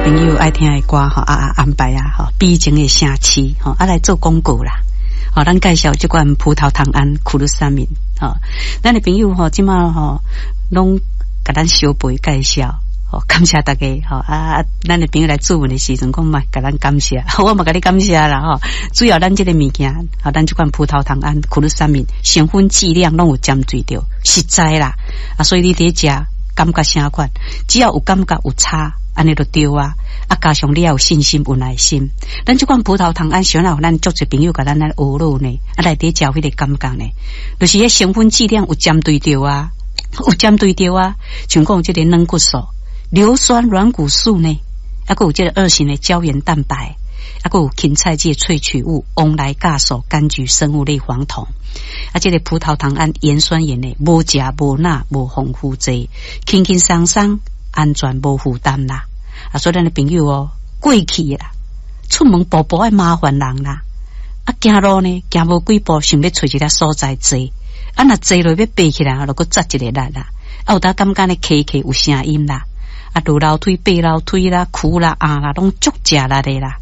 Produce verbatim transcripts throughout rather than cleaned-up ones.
朋友愛聽的歌吼，啊啊安排啊吼，悲情的城市吼，啊來做廣告啦。吼，咱介紹這款葡萄糖胺苦魯三明吼，咱的朋友吼，這馬吼攏共咱相陪介紹。吼，感謝大家吼啊！咱的朋友來諮詢的時陣，講嘛，共咱感謝，我嘛共你感謝啦吼。主要咱這個物件，吼，咱這款葡萄糖胺苦魯三明成分劑量攏有針對著，實在啦啊！所以你佇咧食，感覺啥款，只要有感覺有差，按呢就對啊！啊，加上你要有信心、有耐心。咱這款葡萄糖胺，想來予咱足濟朋友共咱來學落呢，啊，內底食有彼個感覺呢，就是彼成分劑量有針對著啊，有針對著啊，像講這個軟骨素、硫酸軟骨素呢，啊，閣有這個二型的膠原蛋白，啊，閣有芹菜這個萃取物、黃來酵素、柑橘生物類黃酮，啊，這個葡萄糖胺鹽酸鹽呢，無食無鈉無防腐劑，輕輕鬆鬆，安全無負擔啦。啊，所以咱的朋友哦，過去啦，出門步步愛麻煩人啦，啊，行路呢，行無幾步，想欲揣一个所在坐，啊，若坐落欲爬起來，就閣扎一个力啦，啊，有當感覺呢，磕磕有聲音啦。啊，落樓梯、爬樓梯啦、跍啦、按啦，攏足食力的啦。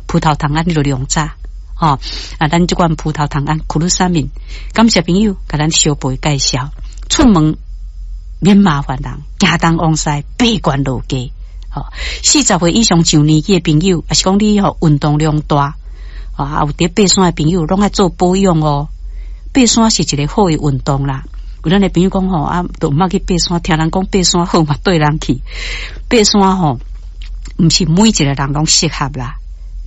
葡萄糖胺你就量早，吼啊，咱這款葡萄糖胺苦魯三明，感謝朋友共咱相陪介紹。出門免麻煩人，行東往西，爬懸落低。吼，四十歲以上上年紀的朋友，抑是講你吼運動量大，啊，有佇爬山的朋友，攏愛做保養哦。爬山是一個好的運動啦。有咱的朋友講吼，啊，都毋捌去爬山，聽人講爬山好嘛，綴人去爬山吼，毋是每一個人攏適合啦。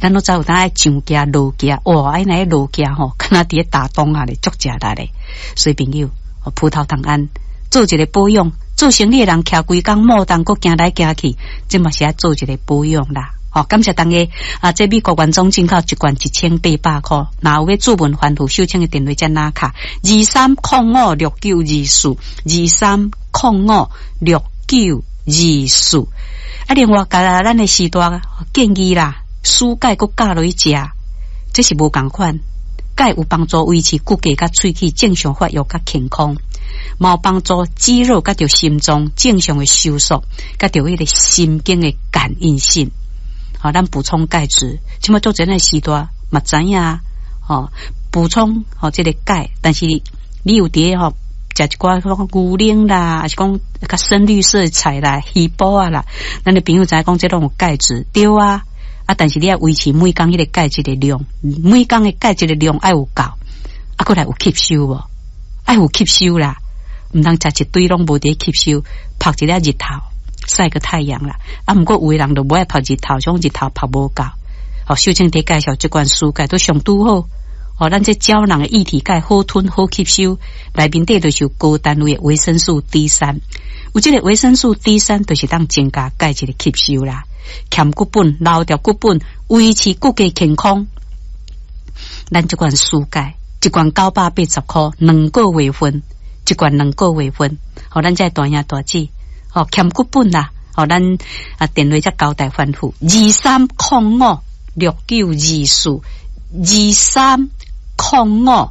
咱攏知有當愛上行落行，哇！啊若落行吼，敢若佇咧打樁仔咧，足食力咧。所以朋友，葡萄糖胺做一個保養，做生理的人徛規工莫當閣行來行去，這嘛是愛做一個保養啦。好，感謝大家啊！這美國原裝進口一罐一千八百箍，若有欲諮問番號，收錢的電話才拿卡二三空五六九二四二三空五六九二四。啊，另外，共咱的時代建議啦，舒鈣閣加落去食，這是無仝款。鈣有幫助維持骨骼佮喙齒正常發育佮健康，嘛有幫助肌肉佮著心臟正常的收縮，佮著彼個神經的感應性。好，咱補充鈣質，這馬做這個時代嘛知影吼，補充吼這個鈣，但是你有佇吼食一寡牛奶啦，抑是講較深綠色菜啦、魚脯仔啦，咱的朋友知影講這攏有鈣質，對啊，啊，但是你愛維持每工彼個鈣質的量，每工的鈣質的量愛有夠，啊，閣來有吸收無？愛有吸收啦，毋通食一堆攏無佇吸收，曝一下日頭。曬個太陽啦，啊，毋過有的人就無愛曝日頭，種日頭曝無夠。好，秀清佇介紹這罐舒鈣都上拄好。哦，咱這膠囊的液體鈣好吞好吸收，內面底就是有高單位的維生素 D 三，有這個維生素 D 三，就是當增加鈣質的吸收啦，強骨本、留著骨本，維持骨骼健康。咱這罐舒鈣，一罐九百八十箍，兩個月份，一罐兩個月份。好，咱這大兄大姊。哦，欠骨本啦！哦，咱啊電話才交代吩咐：二三空五六九二四，二三空五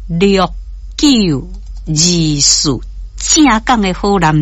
六九二四，正港的好男人。